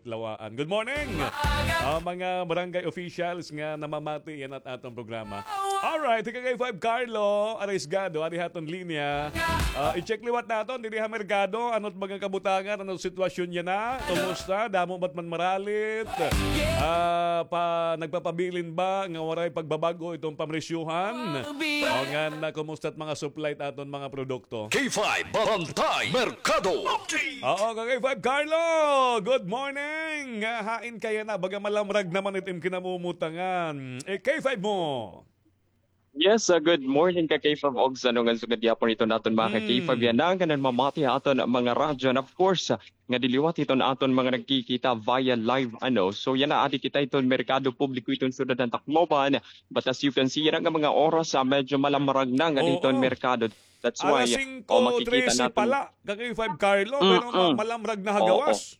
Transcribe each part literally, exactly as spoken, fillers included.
Lawaan. Good morning! Ah, mga barangay officials nga namamati yana it aton programa. Alright, hi ka K five Carlo Arriesgado, adi ha aton linya. Ah, i-check liwat naton, didi ha merkado, ano it mga kabutangan, ano it sitwasyon yana, kumusta, damo ba it manmaralit? Ah, pa, nagpapabilin ba nga waray pagbabag-o iton pamresyuhan? O ngan, ah, kumusta it mga supply it aton mga produkto? K five Bantay Merkado Update. Oo, ka K five Carlo, good morning. Ah, hain ka yana, baga malamrag naman it im kinamumutangan. Eh, K five mo. Yes, ah, good morning ka K five Ogs. Ano ngan sugad gihapon iton aton mga ka K five yana nga namamati ha aton mga radyo. And of course, ah, ngadi liwat iton aton mga nagkikita via live, ano. So, yana, adi kita iton merkado publiko iton syudad han Tacloban. But as you can see, yana nga mga oras, ah, medyo malamrag na ngadi iton merkado. That's why, alas singko trese pala, ka K five Carlo, pero ma-, malamrag na ha gawas.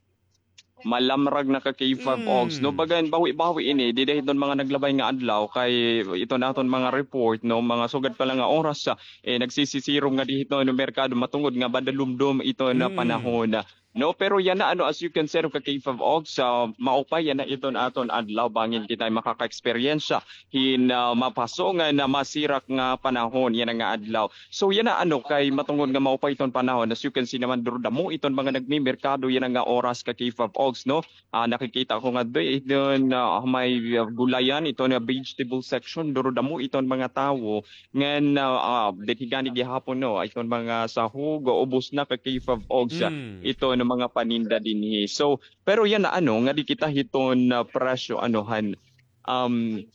Malamrag na ka K five Ogs, no? Bagan bawi-bawi ini, dida hiton mga naglabay nga adlaw, kay iton aton mga report, no, mga sugad pa la nga oras, ah, eh, nagsisisirom ngadi hiton merkado matungod nga madalumdom iton panahon. No, pero yana, ano, as you can see, ka K five Ogs, ah, maupay yana iton aton adlaw, bangin kita makaka-eksperyensya hin, ah, mapaso nga masirak nga panahon yana nga adlaw. So, yana, ano, kay matungod nga maupay iton panahon, as you can see naman, duro damo iton mga nagmimerkado yana nga oras ka K five Ogs, no? Ah, nakikita ko nga doy, iton, ah, may, ah, gulayan, iton, ah, vegetable section, duro damo iton mga tawo. Ngan, ah, ah, dinhi gani gihapon, no, iton mga sahog, ubos na ka K five Ogs, ah, iton mga paninda dinhi. So, pero yana, ano, ngadi kita hiton, ah, presyo, ano, han, um,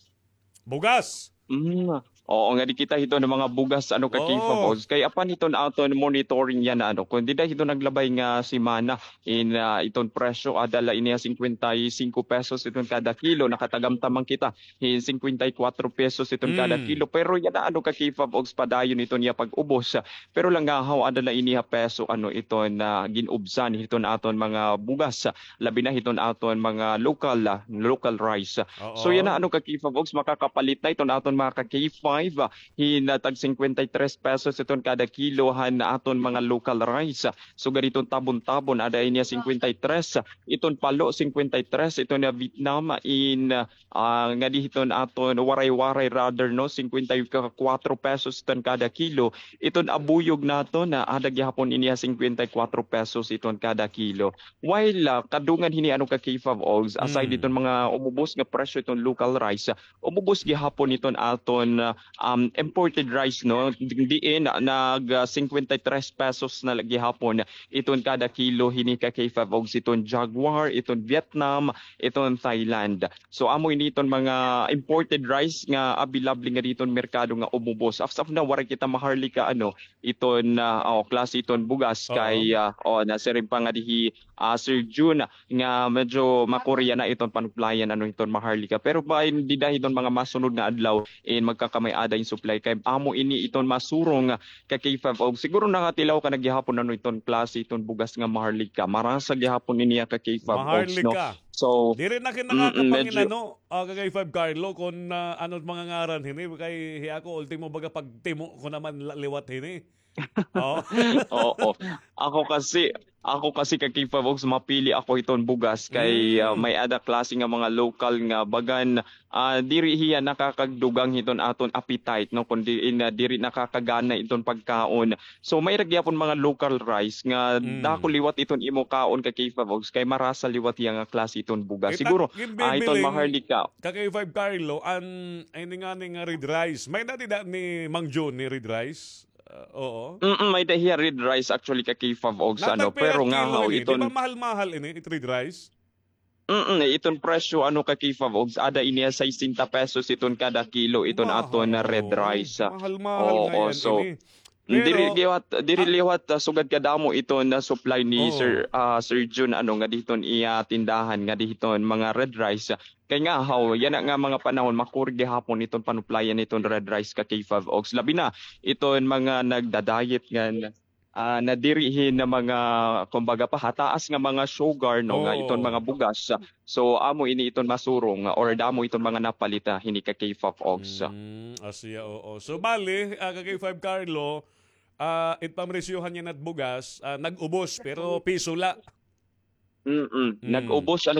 bugas. Mm, oo, ngadi kita hiton mga bugas, ano, ka K five Ogs. Kay apan hiton aton monitoring yana, ano, kon dida hiton naglabay nga semana, in, ah, iton presyo, ada la ini ha singkwenta y singko pesos iton kada kilo, nakatagamtam man kita hin singkwenta y kwatro pesos iton kada kilo. Pero yana, ano, ka K five Ogs, padayon iton iya pag-ubos. Pero langahaw, ada la ini ha peso, ano, iton, ah, gin-ubsan hiton aton mga bugas, labi na hiton aton mga local, ah, local rice. So yana, ano, ka K five Ogs, makakapalit na iton aton mga ka K five, ah, hin, ah, tag singkwenta y tres pesos iton kada kilo han aton mga local rice. Sugad iton tabon-tabon, ada ini ha singkwenta y tres, iton palo, singkwenta y tres, iton, ah, Vietnam, in, ah, ah, ngadi hiton aton waray-waray, rather, no, singkwenta y kwatro pesos iton kada kilo. Iton abuyog naton, ah, ada gihapon ini ha singkwenta y kwatro pesos iton kada kilo. While, ah, kadungan hini, ano, ka K five Ogs, aside iton mga umubos nga presyo iton local rice, ah, umubos gihapon iton aton, ah, um, imported rice, no? Diin, ah, nag, ah, singkwenta y tres pesos na la gihapon iton kada kilo hini ka K five Ogs, iton Jaguar, iton Vietnam, iton Thailand. So, amo ini iton mga imported rice nga available ngadi hiton merkado nga umubos. As of now, waray kita Maharlika, ano, iton, ah, o, klase iton bugas kay, ah, o, nasiring pa ngadi hi, ah, Sir Jun nga medyo makuri yana iton panuplayan, ano, hiton Maharlika. Pero bain dida hiton mga masunod nga adlaw, in magkakamay-ada in supply kay amo ini iton masurong ka K five Ogs. Siguro nakatilaw ka na gihapon, ano, iton klase iton bugas nga Maharlika. Marasa gihapon ini ka K five Ogs, no? Maharlika. So, diri na kita nakakapangin-ano, ah, ka K five Carlo, kon, ah, ano it mga ngaran hini, kay hi ako, ultimo baga pagtimo ko naman la-, liwat hini. Oo. Oo. Ako kasi, ako kasi ka K five Ogs, mapili ako hiton bugas kay, ah, may-ada klase nga mga lokal nga bagan, ah, diri hiya nakakagdugang hiton aton appetite, no, kundi in, ah, diri nakakagana iton pagkaon. So, may-ada gihapon mga local rice nga dako liwat iton imo kaon ka K five Ogs kay marasa liwat hiya nga klase iton bugas. Siguro, ah, iton Maharlika. Ka K five Carlo, an, ay, ini ngani nga red rice. May-ada dida ni Mang Jun ni red rice? Ah, oo. Mm, may-ada hiya red rice actually ka K five Ogs, ano, pero ngahaw iton. Di ba mahal-mahal ini, it red rice? Mm, iton presyo, ano, ka K five Ogs, ada ini ha sesenta pesos iton kada kilo iton aton na red rice. Mahal-mahal ngay-an ini. Diri liwat, diri liwat, ah, sugad kadamo iton na supply ni Sir, ah, Sir Jun, ano, ngadi hiton iya tindahan, ngadi hiton mga red rice. Kay ngahaw, yana nga mga panahon, makuri gihapon iton panuplayan iton red rice ka K five Ogs. Labi na iton mga nagda-diet ngan, ah, nadiri hin na mga, kumbaga pa, hataas nga mga sugar, no, nga iton mga bugas. So, amo ini iton masurong, ah, or damo iton mga napalit, ah, hini ka K five Ogs. Mm, asya, oo. So, bali, ah, ka K five Carlo, ah, it pamresyohan yana it bugas, ah, nag-ubos, pero piso la. Mm-mm. Nag-ubos, ano,